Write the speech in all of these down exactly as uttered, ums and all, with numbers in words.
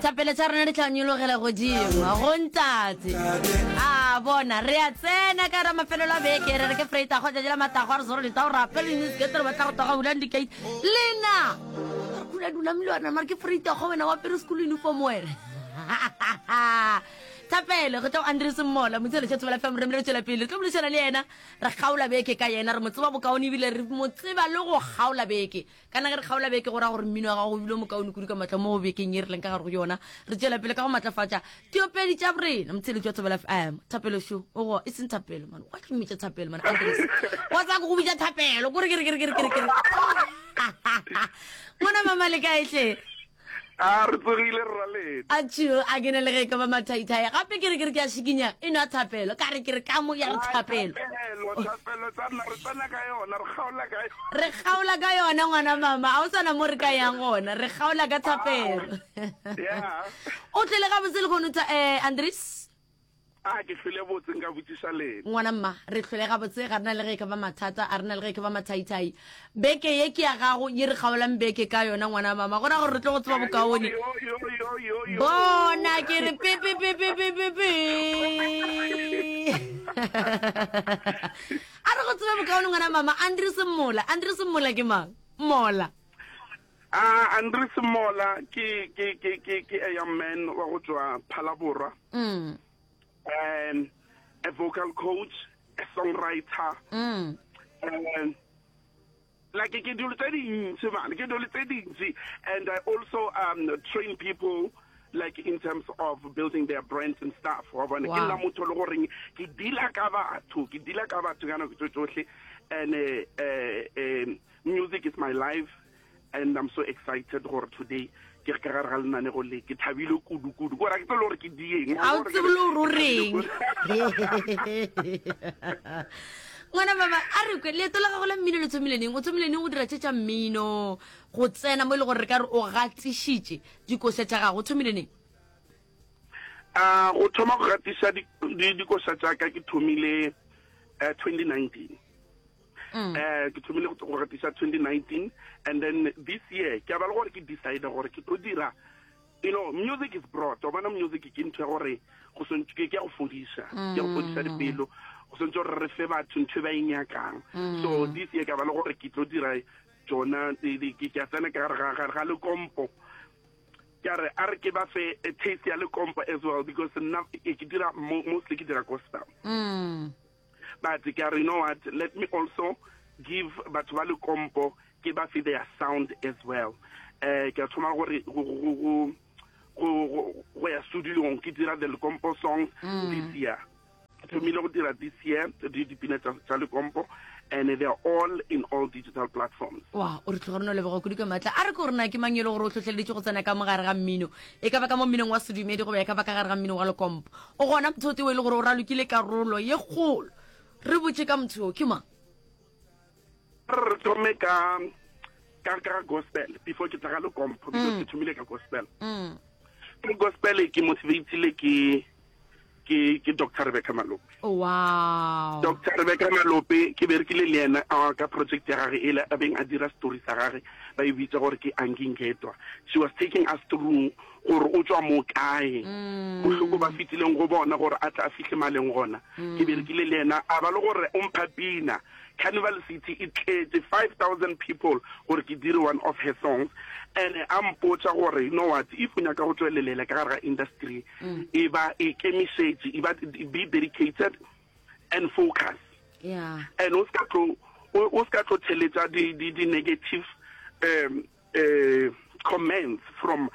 Thapelo tša rena di tla nyologela godimo go Ntate. A bona re a tsena ka ra mafelelo a beke, re re ke freita go tšatši la matago, a re zoro leta go rapela dinisketere re batla go toga bulang dikate lena re kula dula mlwana mare ke freita go wena wa pere school uniform wena. Thapelo go tla go Andres Mmola motshelo tša Thobela F M, re re tšwela pele re tlo boledišana le yena, re kgaola beke ka yena, re mo tseba bokaone ebile re mo tseba le go kgaola beke. Kana ge re kgaola beke go ra gore mmino wa gago o bile mokaone kudu ka matla mo bekeng ye re leng ka gare go yona. Re tšwela pele ka go matlafatša diopedi tša borena motsheletši wa Thobela F M. Thapelo šo o go e seng thapelo man, wa tlomitša thapelo man Andres, wa tsaya go bitša thapelo kore kere kere kere kere kere ngwana mama le kae hle? A re tsogile rra lena. A tšho a ke na le ge e ka ba mathaithai gape ke re ke re ke a šikinya e nwa thapelo ka re ke re ka mo ya re thapelo. Thapelo, thapelo tsa nna re tsena ka yona, re kgaola ka yona. Re kgaola ka yona ngwana mama, a o sana mo re ka yang gona, re kgaola ka thapelo. Yeah. O tlile gabotse le khono tsa eh Andres? A ke hlwele botse nka botšiša lena. Ngwana mma, re hlwele gabotse, ga rena le ge e ka ba mathata, a rena le ge e ka ba mathaithai. Beke ye ke ya gago, ye re kgaolang beke ka yona ngwana mama, go ra gore re tlo go tseba bokaone. Yo, yo, yo, yo, yo. Bona ke re pe pe pe pe pe pe pe. A re go tseba bokaone ngwana mama, Andres Mmola, Andres Mmola ke mang? Mola. Ah, Andres Mmola ke ke ke ke ke a young man wa go tswa Phalaborwa. Mm. Um, a vocal coach, a songwriter. Mm. Um, like ke dilo tse dintsi man, ke dilo tse dintsi, and I also um train people like in terms of building their brands and stuff. Wa bona, ke Wow. nna motho le goreng ke deala ka batho, ke deala ka batho ka nako tso tsohle, and uh, uh, um, music is my life, and I'm so excited gore today ke ka gare ga lenanego le, ke thabile kudu kudu. Gore ha ke tsebe le gore ke dieng. A o tsebe le gore o reng. Ngwana mama, a re kwe, leeto la gago la mmino le thomile neng? O thomile neng go dira tše tša mmino, go tsena mo e le gore re ka re o gatišitše dikoša tša gago, o thomile neng? Ah, go thoma go gatiša dikoša tša ka ke thomile eh, twenty nineteen. Mm. Eh, ke thomile go gatiša twenty nineteen, and then this year ke a ba le gore ke decide gore ke tlo dira, you know, music is broad. Wa bona music ke ntho ya gore go swantse ke ya go fodiša, ke ya go fodiša dipelo, go swantse gore re fe batho ntho e ba e nyakang. So this year ke a ba le gore ke tlo dira tsona, ke ke a tsena ka gare ga ga lekompo. Ke a re a re ke ba fe a taste ya lekompo as well, because nna ke dira mostly ke dira gospel. Mm. But ke a re, you know what, let me also give batho ba lekompo, ke ba fe their sound as well. Eh, ke a thoma gore go go go go go ya studio ke dira the lekompo songs this year. Ke thomile go dira this year di dipina tsa tsa lekompo, and they are all in all digital platforms. Wa, o re tlogore no leboga kudu ka matla. A re ke gore na ke mang e le gore o hlohleleditše go tsena ka mogare ga mmino, e ka ba ka mo mminong wa sedumedi goba e ka ba ka gare ga mmino wa lekompo. O gona motho o tee o e le gore o ralokile karolo ye kgolo. Re botše ka motho o, ke mang? Re thome ka ka ka gospel before ke tla ga lekompo, because ke thomile ka gospel. Mm. Ke gospel ke motivatile ke ke ke Doctor Rebecca Malope. Oh, wow. Doctor Rebecca Malope ke berekile le yena ka project ya gagwe ele a beng a dira story sa gagwe, ba e bitsa gore ke Angingedwa. She was taking us through gore o tswa mo kae, bohloko ba fitileng go bona gore a tla a fihle maleng gona. Ke berekile le yena, a ba le gore o mpha pina. Carnival City e tletse five thousand people gore ke dire one of her songs, and a mpotsa gore, you know what, if o nyaka go tswelelela ka gare ga industry, e ba e kemišetše, e ba be dedicated and focus. Yeah. And o ska tlo, o ska tlo theletsa di di di negative um uh, comments from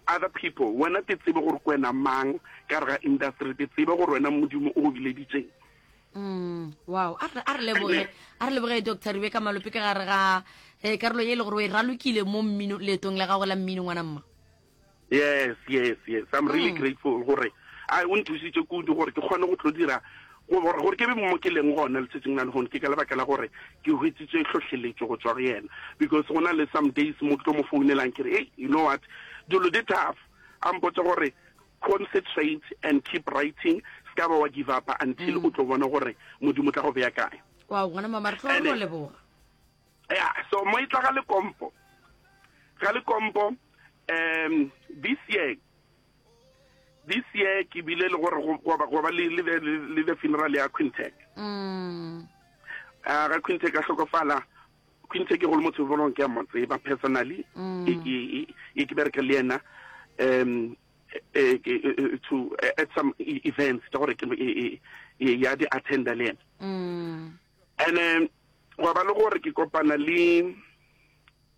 other people. Wena te tsebe gore ke wena mang ka gare ga industry, te tsebe gore wena Modimo o go bileditseng. Mm, wow. A re, a re leboge, a re leboge Doctor Rebecca Malope ka gare ga eh, karolo ye e le gore o e ralokile mo mmino, leetong la gago la mmino ngwana mma. Yes, yes, yes. I'm really grateful gore a o nthusitse kudu gore ke kgone go tlo dira gore gore ke be mo ke leng gona letsatsing la lehono. Ke ka lebaka la gore ke hweditse hlohleletšo go tswa go yena, because go na le some days mo ke tlo mo founelang ke re, hey, you know what, dilo di tough. A mpotsa gore concentrate and keep writing, ska ba wa give up until o tlo bona gore Modimo tla go beya kae. Wow, ngwana mama, re tlo re leboga. Yeah, so mo e tla ga lekompo. Ga lekompo, um this year This year ke bile le gore go ba le le the funeral ya Quintech. Mm. A ga Quintech a hlokofala, Quintech go le motho bolong ke a mo tseba personally, ke ke ke bereka le yena um to at some events tsa gore ke ya di attenda le yena. Mm. And um gwa ba le gore ke kopana le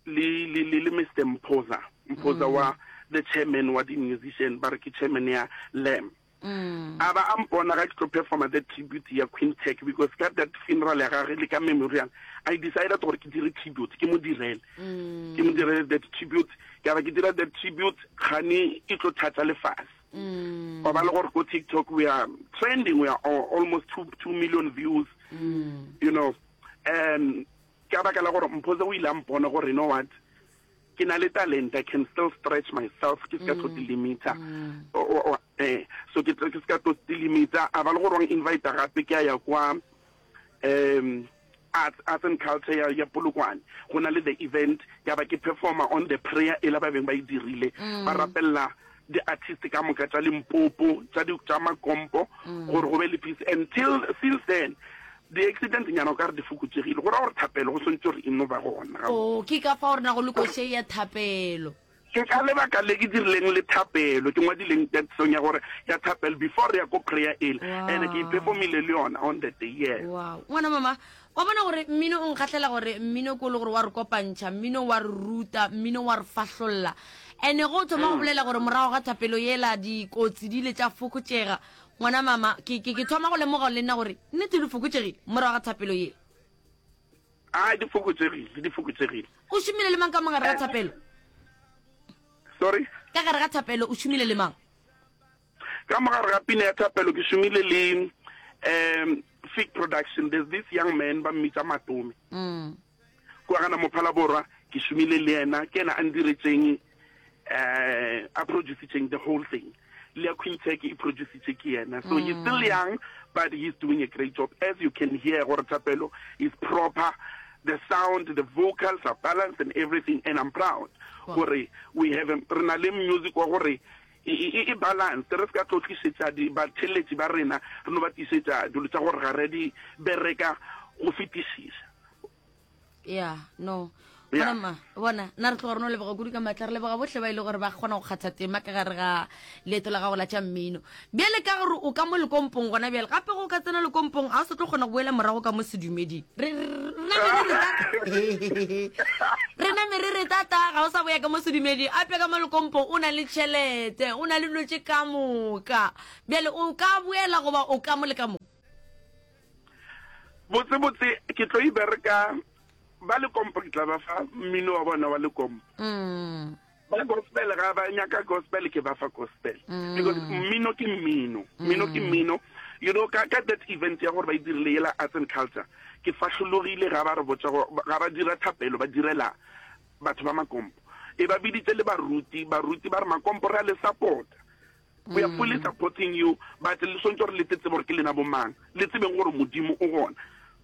le le le Mister Mphoza, Mphoza wa the chairman wa di musician, ba re ke chairman ya L A M. Mm. A ba a mpona ga ke tlo performa that tribute ya Quintech, because ka that funeral ya gage le ka memorial I decided gore ke dire tribute, ke mo direle, Mm. ke mo direle that tribute. Ke ba ke dira that tribute, gane e tlo thatsa lefase. Mm. Wa ba le gore ko TikTok we are trending, we are almost two, two million views. Mm. You know, um ka baka la gore Mphoza o ile a mpona gore, you know what, ke na le talent, I can still stretch myself, ke se ka tlo delimiter. Eh, so ke ke se ka tlo delimiter. A ba le gore wa invite gape, ke a ya kwa um arts, arts and culture ya, ya Polokwane, go na le the event, ya ba ke performer on the prayer e la ba beng ba e dirile, ba rapella di-artist ka moka tša Limpopo, tša di tša Makompo, gore go be le peace. Until since then di-accident nyana o ka re di fokotsegile, go ra gore thapelo go swantse gore e no ba gona. O ke ka fa gore na go le koše ya thapelo. Ke ka lebaka le ke dirileng le thapelo, ke ngwadileng that song ya gore ya thapelo before re ya ko prayer ele, and ke iperformile le yona on the day, yes. Wow, ngwana mama, wa bona gore mmino o nkgatlhela, gore mmino ko le gore wa re kopantšha, mmino wa re ruta, mmino wa re fahlolla. And-e go thoma go bolela gore morago ga thapelo yela dikotsi di ile tša fokotšega, ngwana mama, ke ke ke thoma go lemoga le nna gore nnete di fokotsegile morago ga thapelo yela. A di fokotsegile, di fokotsegile. O šomile le mang ka mogare ga thapelo? Sorry? Ka gare ga thapelo o šomile le mang? Ka mogare ga pina ya thapelo ke šomile le um Fig Production. There's this young man ba mmitsa Matome mm. kwa gana Mophala Borwa, ke šomile le yena, ke ena a ndiretseng, um a producitseng the whole thing. Le ya Quintech e producitse ke yena. So he's still young, but he's doing a great job, as you can hear gore thapelo is proper, the sound, the vocals are balanced and everything, and I'm proud gore we have a- re na le music wa gore e e- e balance, re se ka tlo tlisetsa di batheletši ba rena, re no ba tlisetsa dilo tsa gore ga re di bereka go fetišiša. Yeah, no. Yeah. Bona ma, bona nna re tloga re no leboga kudu ka maatla, re leboga botlhe ba e le gore ba kgona go kgatha tema ka gare ga leeto la gago la tša mmino. Bjale ka gore o ka mo lekompong gona bjale, gape go ka tsena lekompong ga o sa tlo kgona go boela morago ka mo sedumeding. Re re- re name re re tata, re name re re tata, ga o sa boya ka mo sedumeding ape. Ka mo lekompong o na le tšhelete, o na le dilo tše ka moka. Bjale o ka boela goba o ka mo le ka mo? Botse botse ke tlo e bereka ba lekompo, ke tla ba fa mmino wa bona wa lekompo. Mm. Ba gospel, ga ba nyaka gospel, ke ba fa gospel, because mmino ke mmino, mmino ke mmino, you know. ka ka that event ya gore ba e dirile yela arts and culture, ke fahlologile ga ba re botsa go- ga ba dira thapelo, ba direla batho ba Makompo, e ba biditse le baruti. Baruti ba re, "Makompo re a le support, we are fully supporting you, but le swantse gore le tsebe gore ke lena bomang, le tsebeng gore Modimo o gona."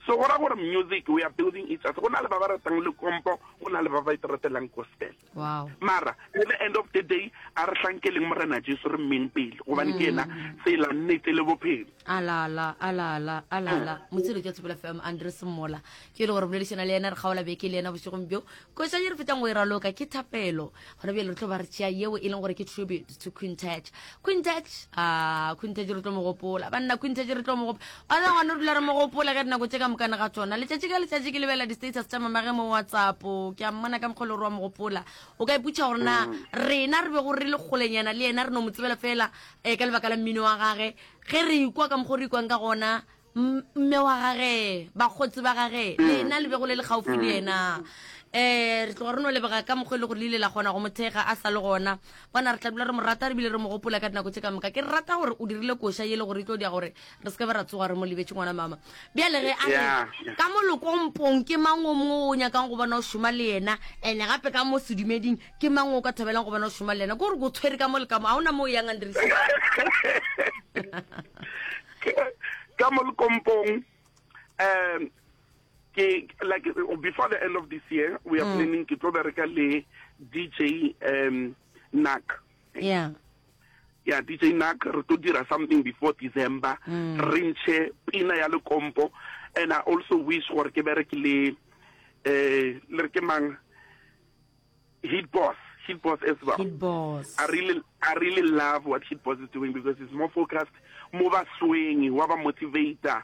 So go ra gore music, we are building each other. Go na le ba ba ratang lekompo, go na le ba ba iteratelang gospel. Wow mara at the end of the day a re hlankeleng Morena Jesu, re mmeng pele, gobane ke ena tsela, nnete le bophelo. Alala, alala, alala, motsheletso ya Thobela F M, Andres Mola ke e le gore boledišana le yena, re kgaola beke le yena bošegong bjo. Koša ye re fetang go e raloka ke thapelo. Gona bjale re tlo ba re tšea yeo e leng gore ke tribute to Quintech. Quintech, a Quintech re tlo mo gopola, banna. Quintech re tlo mo gopola ana ngwane, re dula re mo gopola ka dinako tše ka mokana ga tsona. Letšatši ka letšatši ke lebelela di-status tša mamage mo WhatsApp, ke a mmona ka mokgwa le gore wa mo gopola. O ka iputša gore na rena re bego re le kgolenyana le yena, re no mo tsebela fela um ka lebaka la mmino wa gage, ge re ikwa ka mokgwa o re ikwang ka gona, m- mme wa gage, bakgotsi ba gage, lena le bego le le gaufi le yena, um re tloga re no lebega ka mokgwa e le gore le ile la kgona go mothega a sa le gona. Bona, re tla dula re mo rata, re bile re mo gopola ka dinako tse ka moka. Ke rata gore o dirile koša ye le gore e tlo dia gore re se ke be ra tsoga re mo lebetse. Ngwana mama, bjale ge a re Yeah, yeah. ka mo lekompong ke mang o mongwe o nyakang go bona o šoma le yena, and gape ka mo sedumeding ke mang o ka thabelang go bona o šoma le yena? Ke gore ko tshwere ka mo le ka mo, ga ona mo o yang, Andres. Ka mo lekompong, um ke like uh, before the end of this year we are planning, ke tlo bereka le D J um Nak. Yeah. Yeah, D J Nak, re tlo dira something before December, re ntshe pina ya Lekompo. And I also wish gore ke bereke le eh le re ke mang, Hit Boss, Hit Boss as well. Hit Boss. I really I really love what Hit Boss is doing because it's more focused mo ba sweng wa ba motivator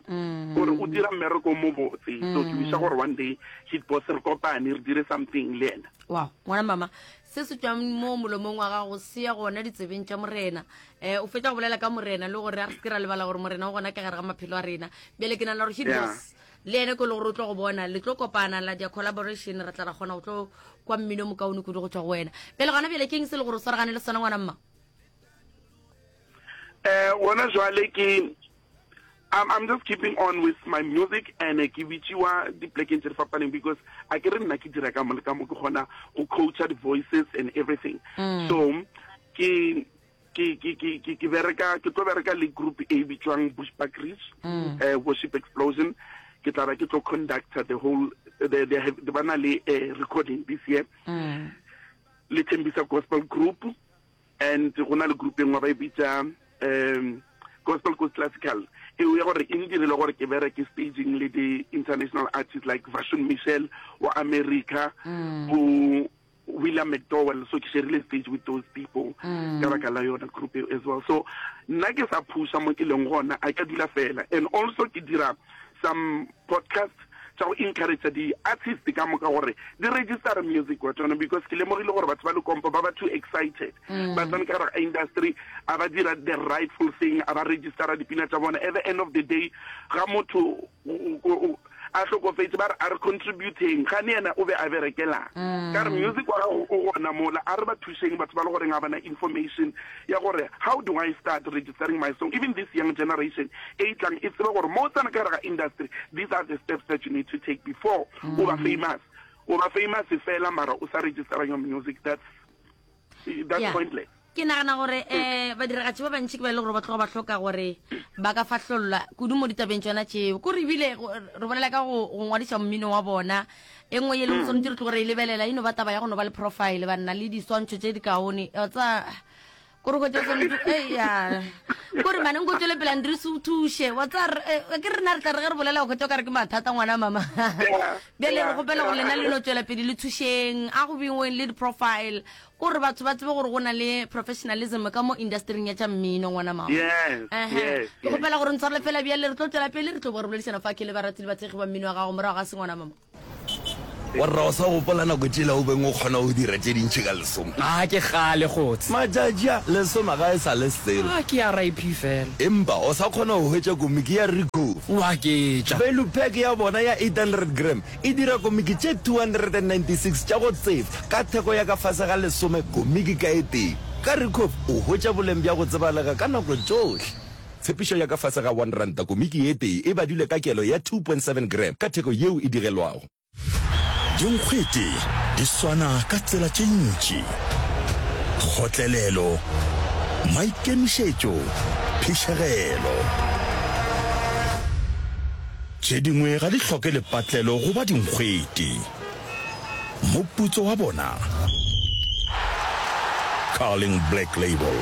gore o dira mmereko mo botse. So ke wisha gore one day Hit Boss re kopane, re dire something le ena. Wow, ngwana mama, se se tswang mo molomong wa gago se ya gona ditsebeng tša Morena. um o fetsa go bolela ka Morena le gore a re se ke ra lebala gore Morena o gona ka gare ga maphelo a rena. Bjale ke nana gore Hit Yeah. Boss le ene ko le gore o tlo go bona, le tlo kopana la dia collaboration, re tla ra kgona go tlo kwa mmino mokaone kudu go tswa go wena. Bjale gona bjale ke eng se le gore o swaragane le sona, ngwana mma? eh gona jwale ke I'm, I'm just keeping on with my music and eh, ke bitsiwa diplekeng tse di fapaneng because a ke re nna ke dira ka mo le ka mo, ke kgona go coacha the voices and everything. So ke ke ke ke ke ke bereka, ke tlo bereka le group e bitswang Bushbuck Ridge uh, Worship Explosion. Ke tla ba ke tlo conductor the whole the they have ba na le uh, recording this year le Thembisa Gospel Group, and go na le group e nngwe ba e bitsa um Gospel Coast Classical, eo ya gore e ndirile gore ke bereke staging le di-international artists like Vashon Michel wa America, bo William McDowell. So ke sharile stage with those people ka baka la yona group eo as well. So nna ke sa pusha mo ke leng gona, a ka dula fela. And also ke dira some podcast tsa go encourage di-artist ka moka gore di register music wa tsona, because ke lemogile gore batho ba Lekompo ba ba too excited, ba tsene ka gare ga industry, a ba dira the rightful thing, a ba registera dipina tsa bona. At the end of the day, ga motho o- o- o- a tlhokofetse, ba re a re contributeng, gane yena o be a berekelang ka re music wa gago o gona mola. A re ba thušeng batho ba le goreng ga bana information ya gore how do I start registering my song. Even this young generation e e tlang e tsebe gore mo o tsena ka gare ga industry, these are the steps that you need to take before o ba famous. O ba famous fela mara o sa registera your music, that's that's Yeah. pointless. Ke nagana gore um badiragatši ba bantši ke ba e le gore ba tloga ba hloka gore ba ka fahlollwa kudu mo ditabeng tsona tšeo, kore ebile go- re bolela ka go go ngwadiša mmino wa bona. E nngwe ye leng tshwanetse re tlo gore e lebelela e no ba taba ya go no ba le profile, banna le diswantšho tše di kaone. Wa tsa kore go tse eya kore mane nko tswele pele, Andres, o thuše wa tsa re- eh, ke rena re tla re ge re bolela go kgotsa o ka re ke mathata, ngwana mama. Bjale re gopela gore lena le no tswela pele le thušeng a go bingweng le di-profile, kore batho ba tsebe gore go na le professionalism ka mo industryng ya tša mmino, ngwana mama. Yes. Ehe. Yes. Ke gopela gore ntshwarele fela. Bjale re tlo tswela pele, re tlo bo re boledišana fa ke le barati le bathekgi ba mmino wa gago morago ga se, ngwana mama. Warra, o sa gopola nako tšela o beng o kgona go dira tše dintšhi ka lesome? A ke gale gotse. Matšatši a lesome ga e sa le selo. A ke R I P fela. Empa o sa kgona go hwetša komiki ya Ricoff. Wa ketša. Value pack ya bona ya eight hundred gram e dira komiki tše two hundred ninety-six tša go tsefa ka theko ya ka fase ga lesome komiki ka e tee. Ka Ricoff o hwetša boleng bja go tsebalega ka nako tšohle. Tshepišo ya ka fase ga one ranta komiki e tee e badilwe ka kelo ya two point seven gram ka theko yeo e digelwago. Dinkgwete di swana ka tsela tše ntši: kgotlelelo, maikemišetšo, phišegelo. Tše dingwe ga di hloke lepatlelo goba dinkgwete. Moputso wa bona, Carling Black Label,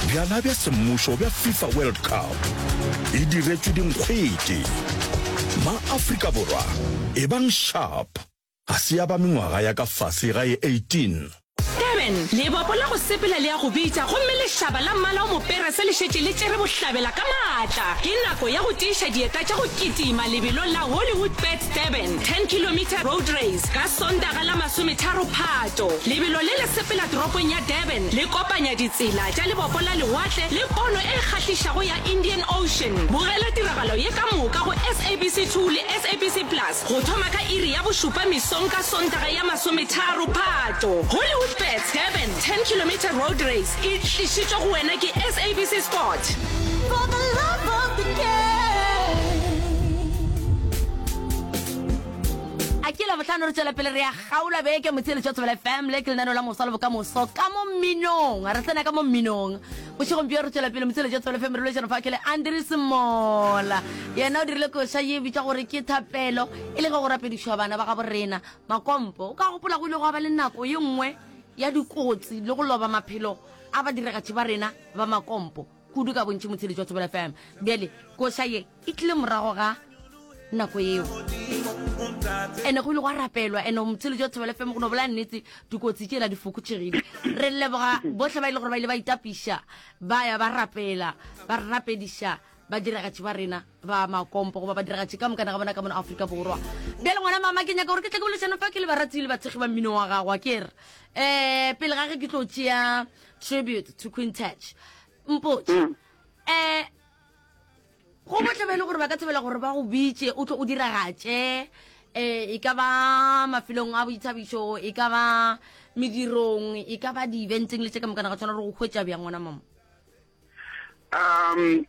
bjala bja semmušo bja FIFA World Cup, e diretšwe dinkgwete. Ma-Afrika Borwa, e bang sharp. Ga se ya ba mengwaga ya ka fase ga e eighteen. Durban, lebopo la go sepela le ya go bitša, gomme lešaba la mmala o moperese le šetše le tšere bohlabela ka maatla. Ke nako ya go tiiša dieta tša go kitima lebelong la Hollywood Bets Durban ten kilometer road race ka Sontaga la masometharo Phato. Lebelo le le sepela toropong ya Durban, le kopanya ditsela tša lebopo la lewatle le pono e kgahlišago ya Indian Ocean. Bogela tiragalo ye ka moka go S A B C two le S A B C Plus go thoma ka iri ya bošupa mesong ka Sontaga ya masometharo Phato. Hollywood Bets Durban ten kilometer road race e tlišitšwe go wena ke S A B C Sport. For the love of the game. A ke la botlhano, re tswela pele re ya gaola beke motsheletso wa Thobela F M. Le ke lenaneo la Mosa le Bokamoso ka mo mminong, re tsena ka mo mminong bošegong bjo. Re tswela pele motsheletso wa Thobela F M, re boledišana fa ke le Andres Mola. Yena o dirile koša ye bitša gore ke Thapelo, e le ge go rapedišwa bana ba gabo rena makompo. O ka gopola go ile go ba le nako ye nngwe ya dikotsi le go loba maphelo a badiragatši ba rena ba makompo kudu ka bontši motsheletši wa Thobela F M. Bjale koša ye e tlile morago ga nako yeo ene go ile gwa rapelwa ene motsheletši wa Thobela F M go no bolela nnete dikotsi tšela di fokotšegile. Re leboga bohle ba ile gore ba ile ba itapiša ba ya ba rapela ba rapediša badiragatši ba rena ba makompo goba badiragatši ka mokana ga bona ka mono Afrika Borwa. Bjale ngwana mama ke nyaka gore ke tle ke bolešana fa ke le barati le bathekgi ba mmino wa gago a ke re um pele ga ge ke tlo tšea tribute to Queen Touch mpotše um go botle ba e le gore ba ka thabela gore ba go bitše o tlo o diragatše um e ka ba mafelong a boithabišo e ka ba medirong e ka ba di-eventeng le tše ka mokana ga tshwana gore go hwetša bjang ngwana mama? Um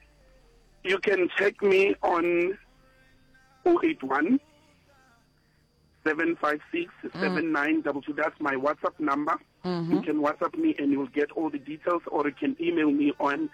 you can check me on oh eight one, seven five six, seven nine double two. That's my WhatsApp number. Mm-hmm. You can WhatsApp me and you'll get all the details, or you can email me on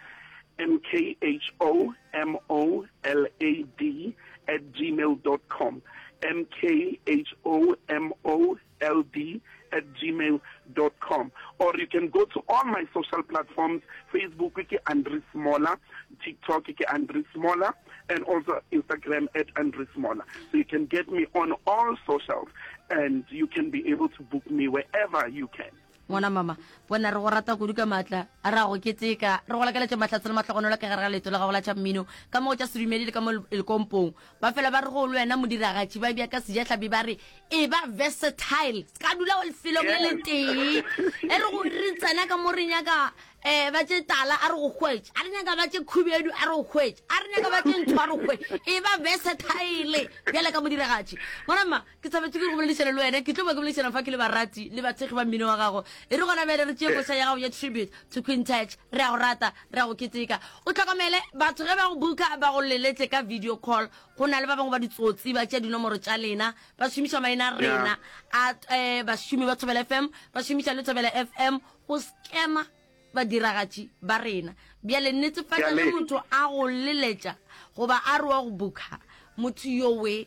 M K H O M O L A D at gmail dot com. M K H O M O L D at gmail dot com. Or you can go to all my social platforms. Facebook ke Andries Mola, TikTok ke Andries Mola, and also Instagram at Andries Mola. So you can get me on all socials and you can be able to book me wherever you can. Ngwana mama, bona re go rata kudu ka maatla, a ra go keteka, re go lakaletša mahlatse le mahlogonolo ka gare ga leeto la gago la tša mmino, ka mo go tša sedumedi le ka mo lekompong. Ba fela ba re go le wena modiragatši, ba bja ka sejahlapi ba re e ba versatile, se ka dula lefelong le le tee. E re go re tsena ka mo re nyaka eh ba tše tala a re go hwetše, a re nyaka ba tše khubedu a re go hwetše, a re nyaka ba tše ntho a re go hwetše. E ba versatile bjale ka modiragatši. Ngwana mma, ke thabetse ke go boledišana le wena, ke tlo ba ke boledišana fa ke le barati le bathekgi ba mmino wa gago. E re gona bjale re tšee koša ya gago ya tribute to Queen Touch. Re a go rata, re a go keteka. O hlokomele batho ge ba go buka ba go leletse ka video call. Go na le ba bangwe ba ditsotsi ba tšea dinomoro tša lena, ba šomiša maina a rena a, eh, bašomi ba Thobela F M, ba šomiša le Thobela F M go scamma badiragatši ba rena. Bjale netefatša ge motho a go leletša goba a re wa go buka motho yowe,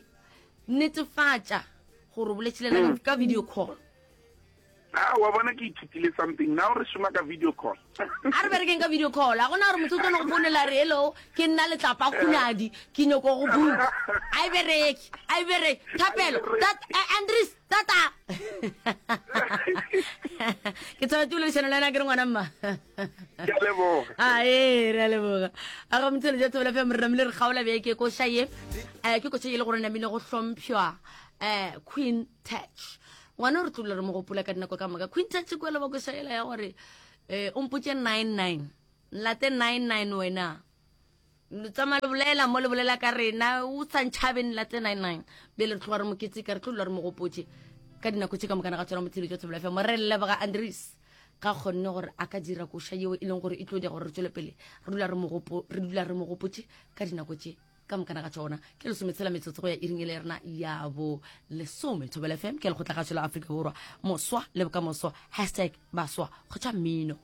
netefatša gore o boletše le yena ka video call. Ah, wa bona ke ithutile something. Now re šoma ka video call. A re berekeng ka video call. A gona gore motho o tlo no go founela re hello, ke nna Letlapa Khunadi, ke nyoko go buka. A e bereke, a e bereke. Thapelo, tat, eh, Andries, tata. Ke tshwanetse go boledišana le wena ke re ngwana mma. Ke a leboga. A ee, re a leboga. A ga motswedi ja Thobela F M, re namile re kgaola beke koša ye. Eh, ke koša ye le gore namile go hlompšwa, eh, Queen Touch. Ngwana re tlo re mo gopola ka dinako ka moka. Queen Touch ke wela ba koša yela ya gore, eh, o mpotše nine nine. Nlate nine nine wena. Le tsamaya le bolela mo le bolela ka rena, o sa ntšhabe nlate nine nine. Bjale re tloga re mo keteka, re tlo dula re mo gopotše ka dinako tše ka moka ga tsona motswedi jwa Thobela F M. Re leboga Andries ga kgonne gore a ka dira koša yeo e leng gore e tlo dira gore re tswele pele re dula re mo gopo-, re dula re mo gopotše ka dinako tše ka moka ga tsona. Ke lesometshela metsotso go ya iring e le rena ya bo lesome. Thobela F M ke lekgotla kgašo la Afrika Borwa, moswa le bokamoso, hashtag baswa kgotsa mmino.